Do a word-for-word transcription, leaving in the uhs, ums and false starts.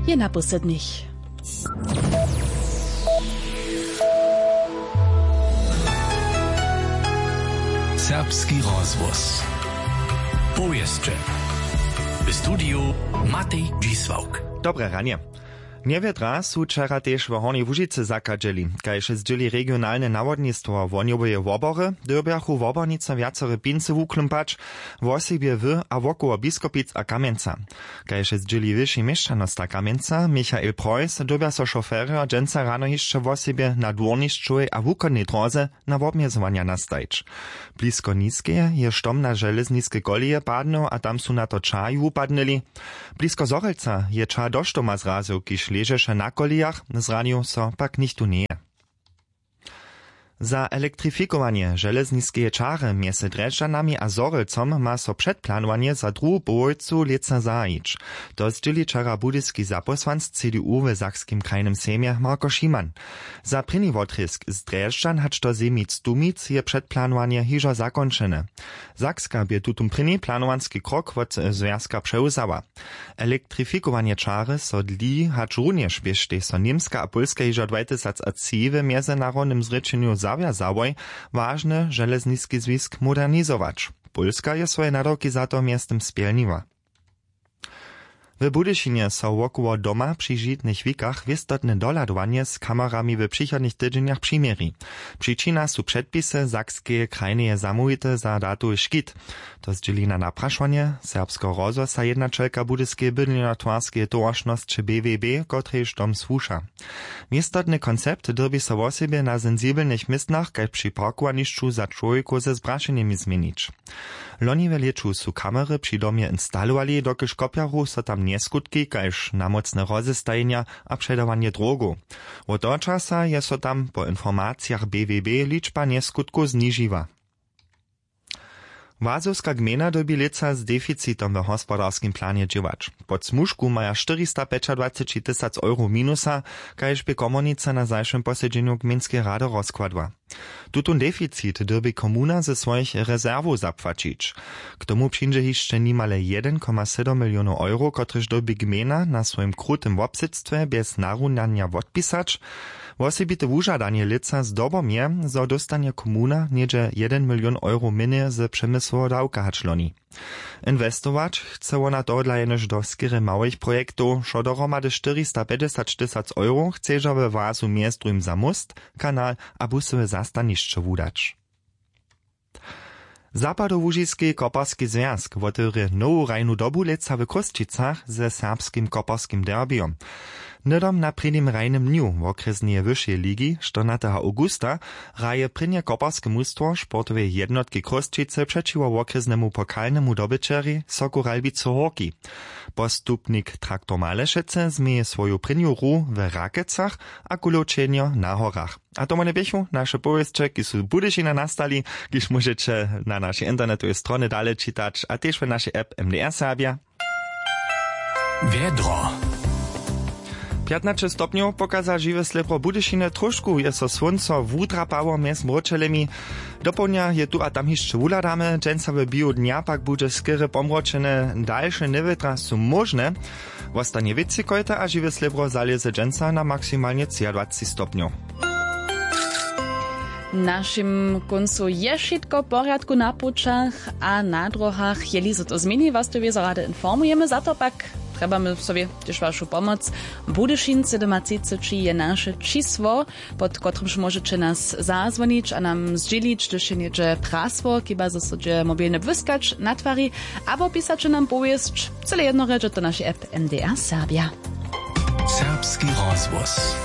Je na poslednich. Serbski rozhłos. Powěsće. W studiju Matej Dźisławk. Dobre ranje. Njewjedra su wčera tež w Hornjej Łužicy zachadźeli. Kaž zdźěli regionalne nawodnistwo Wohnjoweje wobory, dyrbjachu wobornicy wjacore pincy wuklumpać, wosebje w a wokoło Biskopic a Kamjenca. Kaž zdźěli wyši měšćanosta Kamjenca Michael Preuss, dyrbja so šoferjo dźensa rano hišće wosebje na dwórnišćowej a wuchodnej dróze na wobmjezowanja nastajić. Blisko Niskeje je štom na železniske koleje padnył a tam su na to čahi wupadnyli. Blisko Zhorjelca je ča do štoma zrazył, kiž ležeše na kolejach, zranił so pak nichtó njeje. Za elektrifikowanje železniskeje čary mjez Drježdźanami a Zhorjelcom ma so předplanowanje za druhu połojcu lětsa zahajić. To zdźěli wčera budyski zapósłanc C D U w Sakskim krajnym sejmje Marko Šiman. Za prěni wotrězk z Drježdźan hač do Zemic-Tumic je předplanowanje hižo zakónčene. Sakska bě tutón prěni planowanski krok wot zwjazka přewzała. Elektrifikowanje čary so dli, hačrunjež běštej so Němska a Pólska hižo dwatysacatři w mjezynarodnym zrěčenju zawjazałoj, wažny železniski zwisk modernizować. Pólska je swoje nadawki za to mjeztym spjelniła. W Budyšinje so wokoło doma při žitnych wikach wěstotne dohladowanje z kamerami w přichodnych tydźenjach přiměri. Přičina su předpisy Sakskeje krajneje zamołwite za datowy škit. To zdźěli na naprašowanje serbskeho rozhłosa jednaćelka budyskeje bydlenjotwarskeje towaršnosće B W B, kotrejž dom słuša. Městotny koncept dyrbi so wosebje na sensibelnych městnach kaž při parkowanišću za čłowjekow ze zbrašenjemi změnić. Loni w lěću su kamery při domje instalowali, dokelž kopjaru so tam njeskutki kaž namócne rozestajenja a předawanje drogow. Wot toho časa je so tam po informacijach B W B ličba njeskutkow znižiła. Wazowska gmejna dyrbi lětsa z deficitom w hospodarskim planje dźěłać. Pod smužku maja štyristapjećadwaceći tysac euro minusa, kaž bě komornica na zašłym posedźenju gmejnskeje rady rozkładła. Tutón deficit dyrbi komuna ze swojich rezerwow zapłaćić. K tomu přińdźe hišće nimale jedyn koma sydom milionow euro, kotrež dyrbi gmejna na swojim krutym wobsydstwje bjez narunanja wotpisać. Wosebite wužadanje lětsa zdobom je, zo dóstanje komuna něhdźe jedyn milion euro mjenje z přemysłoweho dawka hač loni. Inwestować chce wona tohodla jenož do skerje małych projektow. Wšo dohromady štyristapjećdźesat tysac euro chcedźa we wazu mjez druhim za móst, kanal a busowe zastanišće wudać. Zapadołužiski koparski zwjazk wotewrě nowu hrajnu dobu lětsa w Chrósćicach ze serbskim koparskim derbijom. Hnydom na prěnim hrajnym dnju wokrjesneje wyšeje ligi, štyrnateho awgusta, hraje prěnje koparske mustwo sportoweje jednotki Chrósćicy přećiwo wokrjesnemu pokalnemu dobyćerjej Soku Ralbicy Hórki. Postupnik Traktor Malešecy změje swoju prěnju hru w Rakecach a kulowčenjo na horach. A to wone běchu naše powěsće, kiž su z Budyšina nastali, kiž móžeće na našej internetowej stronje dale čitać a tež w našej app M D R Serbja. Wjedro. Pjatnaće stopnjow pokaza žiwe slěpro Budyšiny, trošku je so słónco wudrapało mjez mróčelemi. Dopołdnja je tu a tam hišće wuhladamy, dźensa w běhu dnja pak budźe skerje pomročene, dalše njewětra su móžne. Wostanje wětřikojte a žiwe slěbro zalěze dźensa na maksimalnje třiadwaceći stopnjow. W našim kóncu je wšitko w porjadku na pućach a na dróhach. Jeli so to změni, was to wězo rady informujemy. Za to pak trjebamy sobie tež wašu pomoc. Budyšin sydomatřiceći je naše čisło, pod kotrymž móžeće nas zazwonić a nam zdźělić, hdyž je něhdźe prasło, chiba zo so dźe mobilny błyskać natwari, abo pisaće nam powěsć. Cyle jednorje dźe to našej app M D R Serbja. Serbski rozhłos.